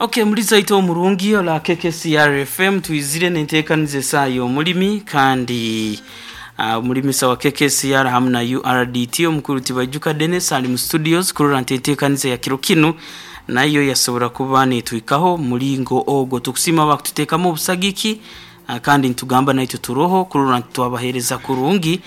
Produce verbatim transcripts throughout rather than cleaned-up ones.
Okay, muliza omurungi ola K K C R F M, twizire nenteekaniza esaaha y'omulimi kandi uh, omulimisa wa K K C R hamu na U R D T, omukuru Tibaijuka Dennis ali mu studios kurora nti enteekaniza ya kiro kinu nayo yasobora kuba netwikaho mulingo ogwo. Tukusiima bakututeekamu obusagiki uh, kandi nitugamba naitwe turoho kurora nti twabaheereza kurungi.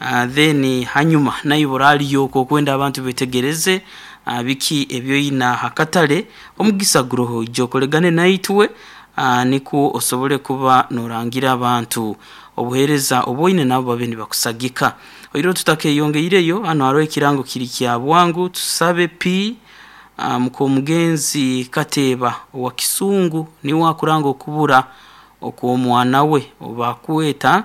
uh, then hanyuma nayo boraliyo okwenda abantu betegereze uh, biki ebyoyina hakatale, omugisa guroho, ijja okolegane naitwe uh, nikwo osobole kuba norangira abantu obuheereza obwoine, nabo babe nibakusagika. Oiro tutakeyongeireyo, hano hariho ekirango kiri kya bwangu. Tusabe p uh, mukomugenzi Kateeba owa Kisungu niwe akuranga okubura okw'omwana we obakweta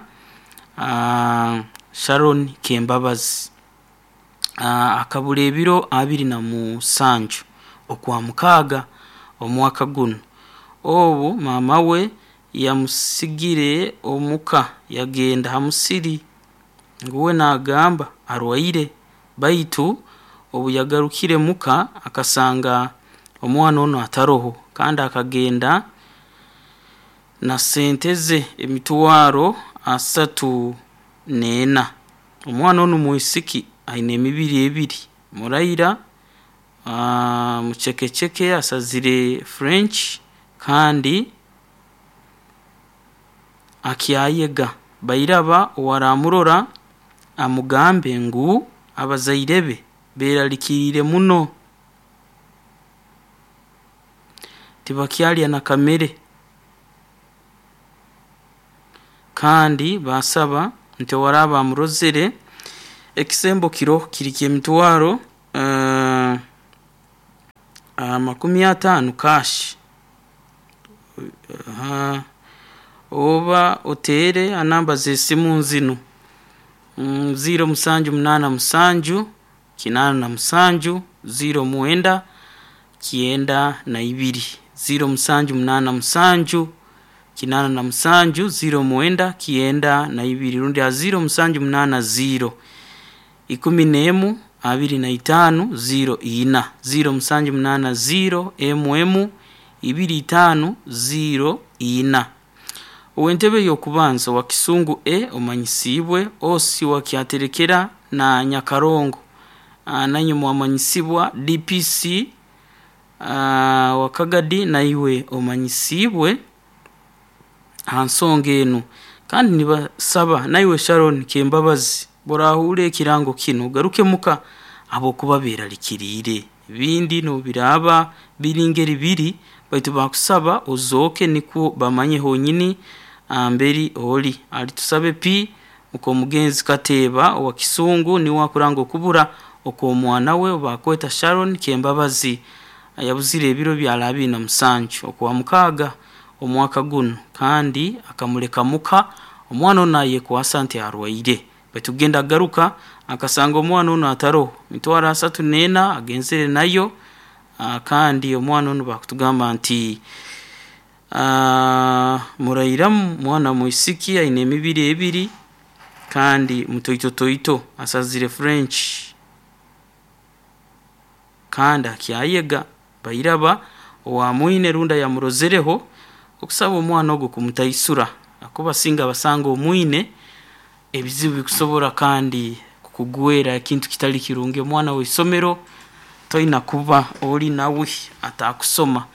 uh, Sharon Kembabazi. uh, akabura ebiro abiri na musanju okwa mukaaga omwaka guno. Obu mama we yamusigire omuka yagenda ha musiri, nguwe nagamba arwaire, baitu obu yagarukire muka akasanga omwana onu ataroho, kandi akagenda na sente ze emitwaro asatu n'ena. Omwana onu mwisiki aine emibiri ebiri, muraira, uh, mucekeceke, asazire French kandi akyayega. Bairaba owaramurora amugambe ngu abazaire be beralikiriire muno, tibakyalya na kamere, kandi basaba nti owaraba amurozere, ekisembo kiro kiri ky'emitwaro uh, amakumi ataano cash, uh, oba oteere anamba z'esimu nzinu: mm, ziro musanju munaana musanju kinaana na musanju ziro mwenda kyenda na ibiri, ziro musanju munaana musanju kinaana na musanju ziro mwenda kyenda na ibiri, rundi ha ziro musanju munaana ziro ikumi n'emu abiri na itaano ziro ina, ziro musanju munaana ziro emu emu ibiri itaano ziro ina. Ow'entebe y'okubanza wa Kisungu e omanyisibwe osi wa Kyaterekera na Nyakarongo, uh, nanywe mwamanyisibwa. D P C uh, wa Kagadi naiwe omanyisibwe ha nsonga enu, kandi nibasaba naiwe Sharon Kembabazi borahure ekirango kinu ugaruke muka habwokuba beralikiriire. Ebindi nobiraba biri ngeri biri, baitu bakusaba ozooke nikwo bamanye honyini amberi oli ali. Tusabe p mukomugenzi Kateeba owa Kisungu niwe akuranga okubura okw'omwana we bakweta Sharon Kembabazi, yabuzire ebiro byala abiri na musanju okwa mukaaga omwaka guno, kandi akamuleka muka omwana ono ayekwasa nti arwaire, baitu genda agaruka akasanga omwana ono ataroho, mitwaro asatu n'ena agenzere nayo. uh, kandi omwana ono bakutugamba nti uh, murairamu, mwana mwisiki aine emibiri ebiri kandi mutoitotoito, asazire French kandi akyayega. Bairaba owamwine runda yamurozereho okusaba omwana ogwo kumutaisura, akuba singa basanga omwine ebizibu bikusobora kandi kukugwera ekintu kitali kirungi. Omwana w'isomero toina kuba oli nawe atakusoma.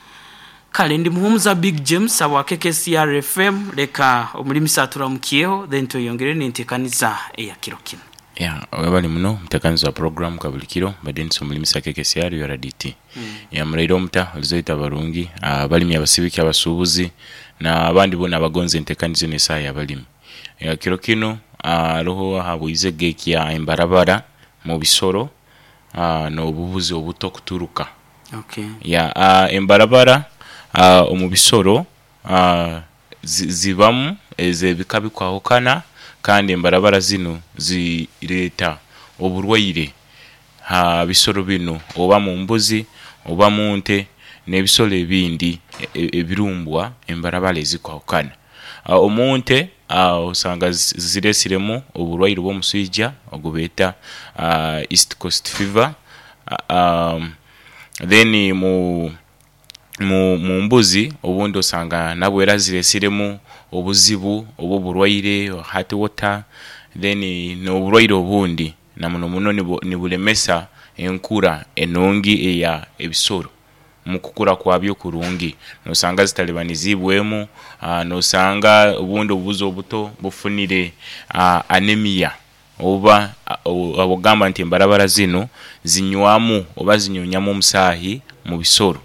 Kale ndi Muhumuza Big James abwa K K C R F M. Leka omulimisa aturamukiyeho, then tweyongere nentekaniza eya kiro kino. Ya, webali muno mutekanizi wa program kabuli kiro badentisi omulimisa K K C R U R D T. mm. Ya, muraire omuta olizoita barungi abalimi, abasibiki, abasuubuzi n'abandi boona abagonza entekaniza eno esaaha y'abalimi. Ya, kiro kino haroho ahabwizege ekya embarabara mu bisoro n'obubuzi obuto kuturuka. Okay. Ya, embarabara omu bisoro zi- zibamu ez'ebika bikwahukana, kandi embarabara zinu zireeta oburwaire ha bisoro binu, oba mu mbuzi oba mu nte n'ebisoro ebindi ebirumbwa embarabara ezikwahukana. Omu nte osanga ziresiremu oburwaire obw'omuswija ogubeeta East Coast Fever. um, then mu mu, mu mbuzi obundi osanga nabwo era ziresiremu obuzibu oba oburwaire heart water, then n'oburwaire obundi na muno muno nibu nibulemesa enkura enungi eya ebisoro omukukura kwabyo kurungi. Nosanga zitalibanizibwemu, aa nosanga obundi obubuzi obuto bufunire aa anemia oba ogamba nti embarabara zinu zinywamu oba zinyunyamu omusaayi omubisoro.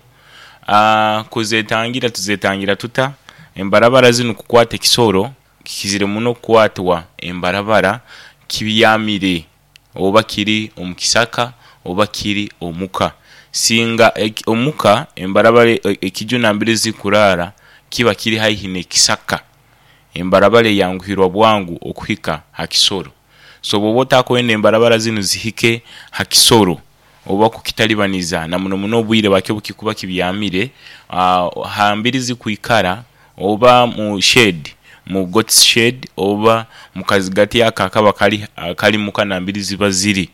Aa kuzetangira tuzetangira tuta? Embarabara zinu okukwata ekisoro kikizire muno okukwatwa embarabara kibyamire oba kiri omu kisaka oba kiri omuka. Singa eki omuka embarabara ekiju nambere zikurara kiba kiri haihi n'ekisaka, embarabara eyanguhirwa bwangu okuhika ha kisoro. So obwoba otakwenda embarabara zinu zihike ha kisoro oba kukitalibaniza na muno muno obwire bwakyo obukikuba kibyamire, aa hambiri zikwikara oba mu shade, mu goats shade oba mukazigati ako akaba kali akali muka nambere ziba ziri,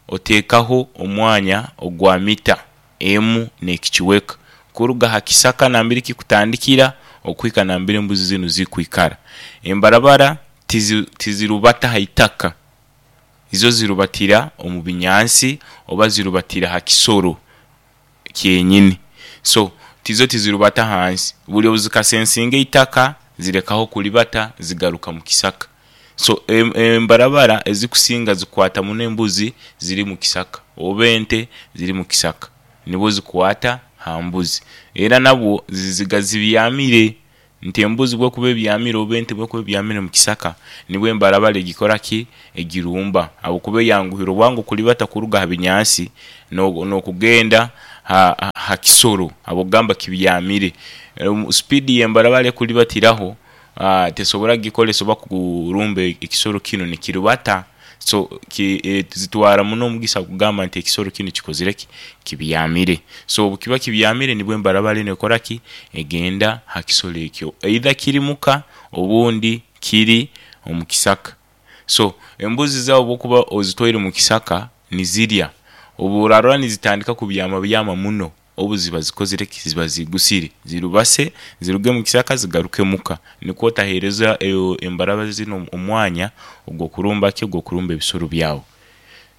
otekaho omwanya ogwa mita emu n'ekicweka kuruga ha kisaka nambere kikutandikira okuika nambere embuzi zinu zikwikara. Embarabara tizi tizirubata haitaka, izo zirubatira omu binyansi oba zirubatira ha kisoro kyenyini, so izo tizirubata hansi buli obuzikasensinga eitaka zirekaho okulibata zigaruka mukisaka. So embarabara ezikusinga zikwata muno embuzi ziri mukisaka oba ente ziri mukisaka nibwo zikwata ha mbuzi era nabwo ziziga zibyamire nti embuzi bwekuba ebyamire oba ente bwekuba ebyamire omukisaka nibwo embarabara egikoraki egirumba habwokuba eyanguhirwa bwangu okulibata okuruga ha binyansi n'okugenda ha ha kisoro habwokugamba kibyamire. Speedi y'embarabara ekulibatiraho aa tesobora kugikolesa oba kurumba ekisoro kinu nikirubata, so ki zitwara muno omugisa kugamba nti ekisoro kinu kikozireki kibyamire. So obukiba kibyamire nibwo embarabara enu ekoraki egenda ha kisoro ekyo either kiri muka obundi kiri omukisaka. So embuzi zaawe obwokuba ozitwaire omukisaka nizirya, obworarora nizitandika kubyamabyama muno obu ziba zikozireki ziba zigusire zirubase ziruge omukisaka zigaruke omuka nikwo otahereza embarabara zinu omwanya ogwokurumbaki ogwokurumba ebisoro byawe.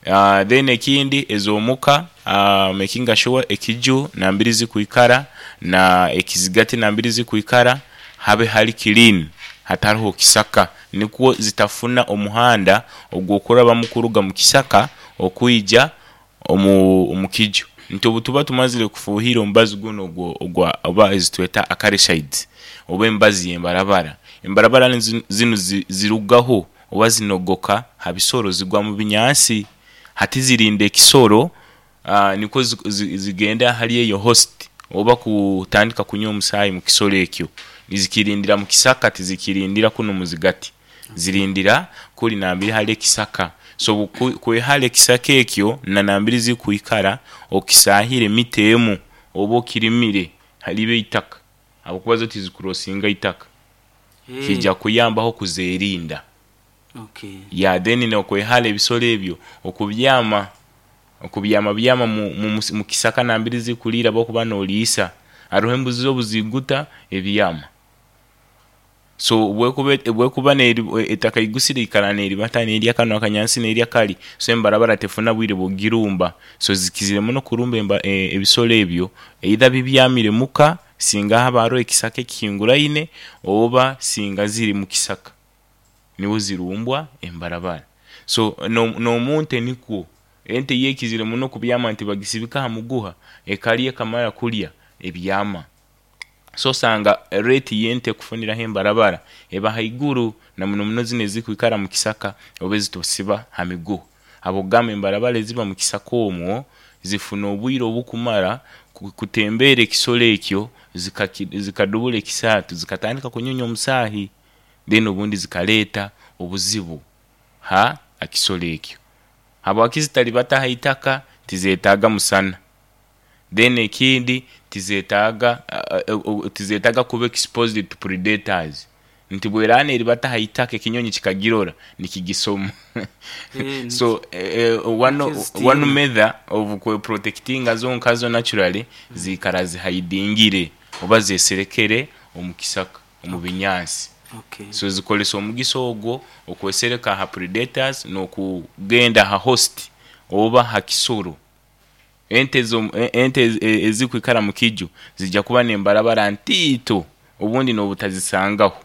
Aa then ekindi ez'omuka aa omekinga shuwa ekiju nambere zikwikara na ekizigati nambere zikwikara habe hali clean hataroho kisaka nikwo zitafuna omuhanda ogwokurabamu okuruga mukisaka okwija omu omukiju nti obutuba tumazire kufuhira omubazi gunu ogwa oba ezitweta acaricides oba emibazi y'embarabara, embarabara zinu zirugaho oba zinogoka ha bisoro zigwa mu binyansi hati zirinda ekisoro aa nikwo zigende ahali eyo host oba kutandika kunywa omusaayi omukisoro ekyo. Nizikirindira mukisaka tizikirindira kunu omuzigati, zirindira kuli nambere hali ekisaka. So kwehara ekisaka ekyo na nambere zikwikara okisahire mita emu oba okirimire libe itaka habwokuba zo tizikurosinga itaka, kija kuyambaho okuzerinda. Okay. Ya then nokwehara ebisoro ebyo okubyama okubyamabyama mukisaka nambere zikulira bwokuba noliisa. Haroho embuzi obuziguta ebyama, so bwekuba bwekuba eitaka igusire eikara neribata nerya kanu akanyansi nerya kali, so embarabara tefuna bwire bwogirumba. So zikizire muno okurumba emba ebisoro ebyo either bibyamire muka singa haba haroho ekisaka ekihinguraine oba singa ziri mukisaka nibwo zirumbwa embarabara. So n'omunte nikwo, ente yo ekizire muno okubyama nti bagisibika ha muguha ekalya ekamara kulya ebyama. So osanga rate y'ente kufuniraho embarabara eba haiguru na muno muno zinu ezikwikara mukisaka oba ezitusiba ha miguha habwokugamba embarabara eziba mukisaka omwo zifuna obwire obukumara kutembera ekisoro ekyo zikadubura ekisatu zikatandika kunyunya omusaayi then obundi zikaleta obuzibu ha kisoro ekyo. Habwaki zitalibata haitaka? Tizetaga musana, then ekindi tizetaga tizetaga kuba exposed to predators. Nti bweraana eribata ha itaka, ekinyonyi kikagirora nikigisoma. Eh, So eh, one, nikizitina. one method of kweprotectinga zo nkazo naturally, zikara zihidingire oba zeserekere omu kisaka, omu binyansi. Okay. So zikolesa omugisa ogwo okwesereka ha predators n'okugenda ha host oba ha kisoro. Ente zo, ente ezikwikara mu kiju zijja kuba nembarabara ntiito, obundi n'obutazisangaho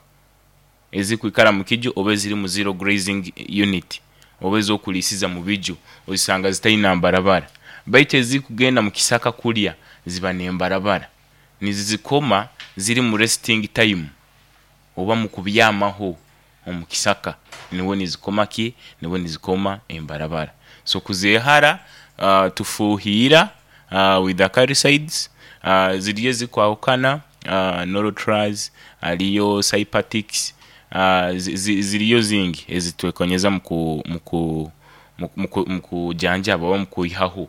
ezikwikara mu kiju oba eziri mu zero grazing unit oba ezokulisiza mu biju, ozisanga zitaina mbarabara. Baitu ezikugenda mu kisaka kulya ziba nembarabara, nizizikoma ziri mu resting time oba mu kubyamaho omu kisaka, niwe nizikoma ki, niwe nizikoma embarabara. So kuzehara, uh, tufuhira uh, with the acaricides. uh, ziriyo ezikwahukana, uh, Norotraz, aliyo Cypatix, uh, zi- zi- ziriyo zingi ezitwekonyeza muku muku muku- mukujanjaba oba mukwihaho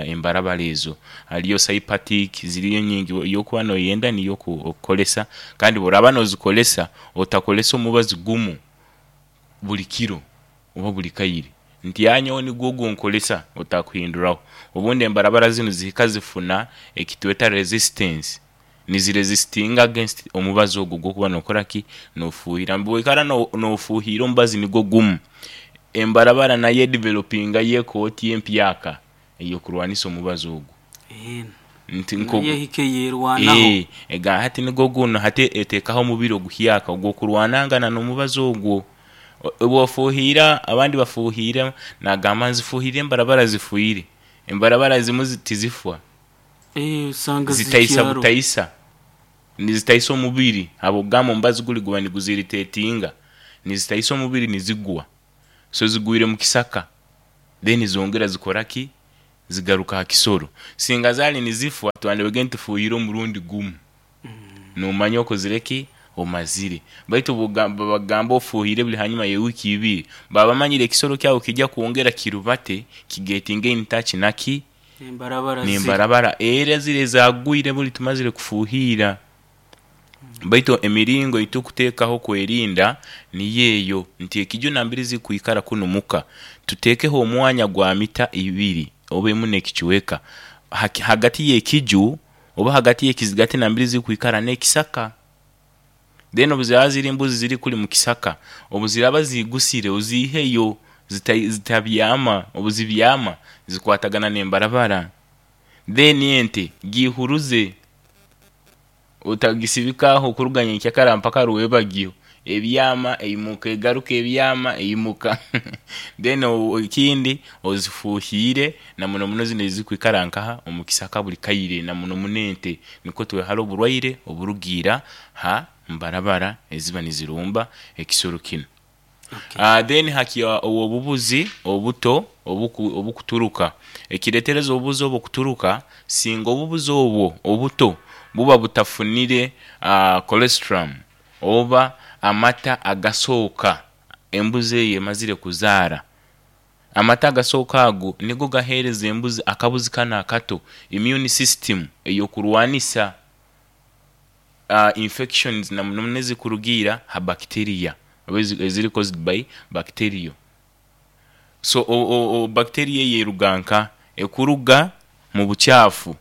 embarabara ezo. Haliyo Cypatic, ziriyo nyingi, yokuba noyenda niyo okukolesa. Kandi bworaba nozikolesa, otakolesa omubazi gumu buli kiro oba buli kaire, nti yanyowe nigwo gunkolesa, otakuhinduraho. Obundi embarabara zinu zihika zifuna ekitweta resistance, niziresistinga against omubazi ogwo gwokuba nokora ki, nofuhira. Bwoikara nofuhira omubazi nigwo gumu, embarabara nayo edevelopinga yekooti empyaka eyokurwanisa omubazi ogwo. Eh, nti nko naye ehike yerwanaho. Eh, ega hati nigwo guno, hati etekaho omubiri oguhyaka ogwokurwanangana n'omubazi ogwo. Bwofuhira, abandi bafuhira nagamba nzifuhire embarabara zifuire, embarabara zimu zi- tizifwa. Eh, usanga zitaisa zikyaro. Butaisa, nizitaisa omubiri habwokugamba omubazi guli guba niguziritetinga, nizitaisa omubiri, nizigwa. So zigwire mu kisaka, then zongera zikora ki, zigaruka ha kisoro. Singa zali nizifwa, twandibage ntufuhire omurundi gumu, nomanya okozire ki, omazire. Baitu bugamba- bagamba ofuhire buli hanyuma y'ewiki ibiri, baba bamanyire ekisoro kyawe kijja kwongera kirubate, kigetinge in touch naki, embarabara ziri. Nembarabara era zire zagwire buli tumazire kufuhira. Baitu emiringo itukuteekaho kwerinda niyo eyo, nti ekiju nambiri zikwikara kunu muka, tuteekeho omwanya gwa mita ibiri oba emu n'ekicweka Haki- hagati y'ekiju oba hagati y'ekizigati nambiri zikwikara n'ekisaka. Then obu ziraba ziri embuzi ziri kuli mu kisaka, obu ziraba zigusire, oziiheyo, zita- zitabyama. Obu zibyama zikwatagana n'embarabara. Then ente gihuruze, otagisibikaho kuruga nyenkyakara mpaka rwebagyo, ebyama eimuka egaruka, ebyama eimuka. Then o- ekindi, ozifuhire na muno muno zino ezikwikara nkaha omu kisaka buli kaire, na muno muno ente, nikwo twehara oburwaire oburugiira ha mbarabara eziba nizirumba ekisoro kinu. Okay. Uh, then hakia obubuzi obuto obuku, obukuturuka. Ekiretereza obubuzi obwo kuturuka, singa obubuzi obwo obuto buba butafunire uh, colostrum oba amata agasooka embuzi eyo emazire kuzaara. Amata agasooka ago nigo gahereza embuzi, akabuzi kano akato, immune system eyokurwanisa uh, infections, na muno muno ezikurugiira ha bacteria oba ezi- eziri caused by bacteria. So o, o, o bacteria eyo eruga nka ekuruga mu bukyafu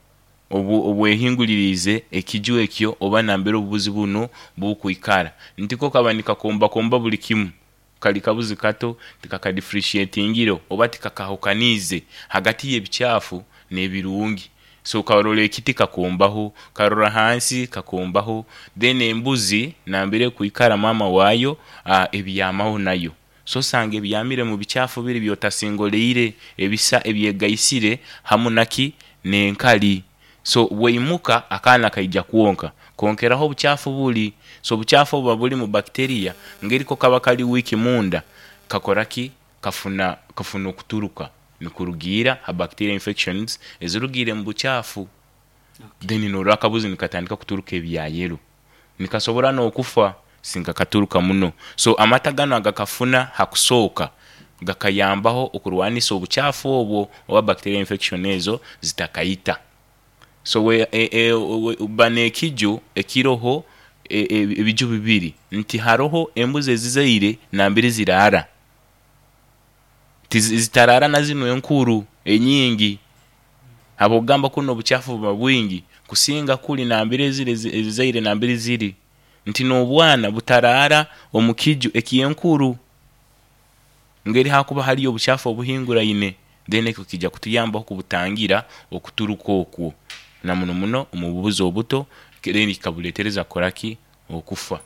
obu obwehingulirize ekiju ekyo oba nambere obubuzi buno bukwikara. Ntiko kaba nikakombakomba buli kimu, kali kabuzi kato, tikakadifferentiatingire oba tikakahukaniize hagati y'ebikyafu n'ebirungi. So karora ekiti kakombaho, karora hansi kakombaho. Then embuzi nambere kwikara mama waayo, uh, ebyamaho nayo. So osanga ebyamire mu bikyafu biri byotasingoleire, ebisa ebyegaisire hamu naki, n'enkali. So bweimuka akaana kaija kwonka konkeraho obukyafu buli. So obukyafu obuba buli mu bacteria, ngeriko kaba kali wiki munda, kakora ki, kafuna kafuna okuturuka nikurugiira ha bacteria infections ezirugiire mu bukyafu. Then norora akabuzi nikatandika kuturuka ebya yellow, nikasobora n'okufa singa katuruka muno. So amata gano agakafuna hakusooka gakayambaho okurwanisa obukyafu obwo oba bacteria infection ezo zitakayita. So we, e, e, we, ba n'ekiju ekiroho e- e- ebiju bibiri nti haroho embuzi ezizaire nambere ziraara. Tizi- zitarara na zinu enkuru enyingi, habwokugamba kunu obuchafu buba bwingi kusinga kuli nambere eziri ezi- ezizaire nambere ziri, nti n'obwana butarara omu kiju ekyenkuru ngeri hakuba haliyo obuchafu obuhinguraine. Then ekyo kijja kutuyambaho kubutangira okuturuka okwo na muno muno omu bubuzi obuto, then kikabuleetereza kukoraki, okufa.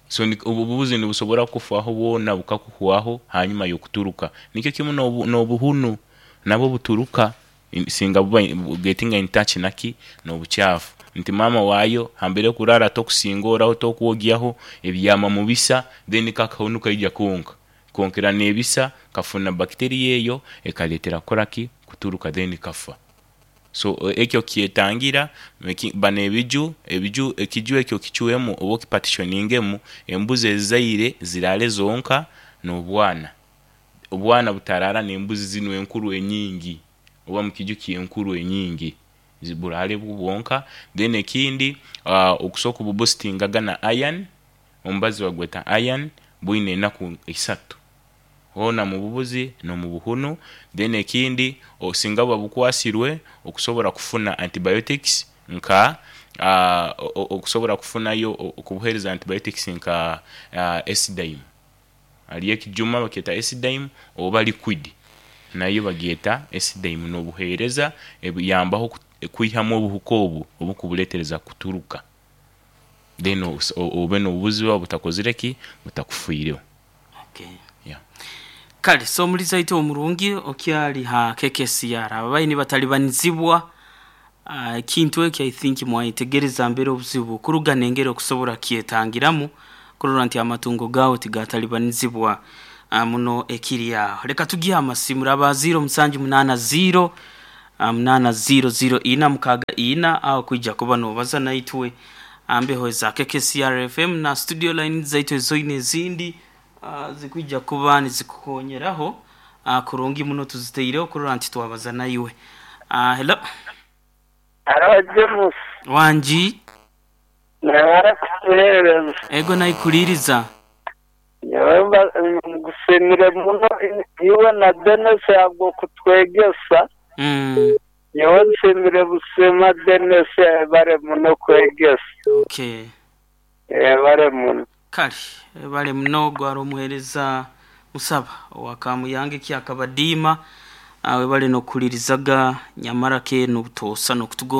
So ni- obu obubuzi nibusobora kufaho bwona bukakuhwaho hanyuma y'okuturuka. Nikyo kimu n'obu- n'obuhunu nabwo buturuka in- singa buba getting in touch naki n'obuchafu, nti maama waayo hambere kurara tokusingoraho, tokwogyaho, ebyama mubisa, then kakahunu kaija konka konkera n'ebisa, kafuna bacteria eyo ekaleetera kukoraki, kuturuka, then kafa. So e- ekyo kyetangira eki- bano ebiju ebiju ekiju ekyo kicwemu oba okipartitioningemu, embuzi ezizaire ziraale zonka n'obwana, obwana butarara n'embuzi zinu enkuru enyingi oba mukiju kyenkuru enyingi, zi- buraale bwo bwonka. Then ekindi, uh, okusobola kububoostingaga na iron, omubazi bagweta iron, bwine enaku isatu hoona mu bubuzi n'omu buhunu. Then ekindi, osinga buba bukwasirwe, okusobora kufuna antibiotics nka uh, o- o- okusobora kufunayo o- okubuheereza antibiotics nka uh, Esidime, haliyo ekijuma bakyeta Esidime oba liquid nayo bagyeta Esidime, n'obuheereza ebuyambaho ku- kwihamu obuhuka obu obukubuleetereza kuturuka, then os- o- obe n'obubuzi bwawe butakozire ki, butakufiireho. Okay. Yeah. Kale, so omuliza waitu omurungi okyali ha K K C R, ababayi batalibanizibwa ah, ekintu ekyo, I think mwayetegereza mbere obuzibu kuruga nengeri okusobora kyetangiramu kurora nti amatungo gawe tigatalibanizibwa ah, muno ekiri aho. Reka tugihe amasimu raba zero musanju munana zero ah, munana zero zero ina mukaga ina, aho kwija kuba nobaza naitwe ambeho za K K C R F M na studio line zaitu ezoine ezindi uh, zikwija kuba nizikukonyeraho uh, kurungi muno, tuziteireho kurora nti twabaza naiwe. uh, hello Haro James, wanji. Nabara kutuhereza. Ego, naikuliriza. Nyewe mba- ngusimire muno iwe na Dennis yabwo kutwegesa. mm, Nyewe nsimire busima Dennis, bare muno kwegesa. Okay. Bare muno. Kale, bale muno, gwari omuhereza musaba wakamuyange kyakabadiima awe bale nokulirizaga nyamara ke nobutosa nokutugonza.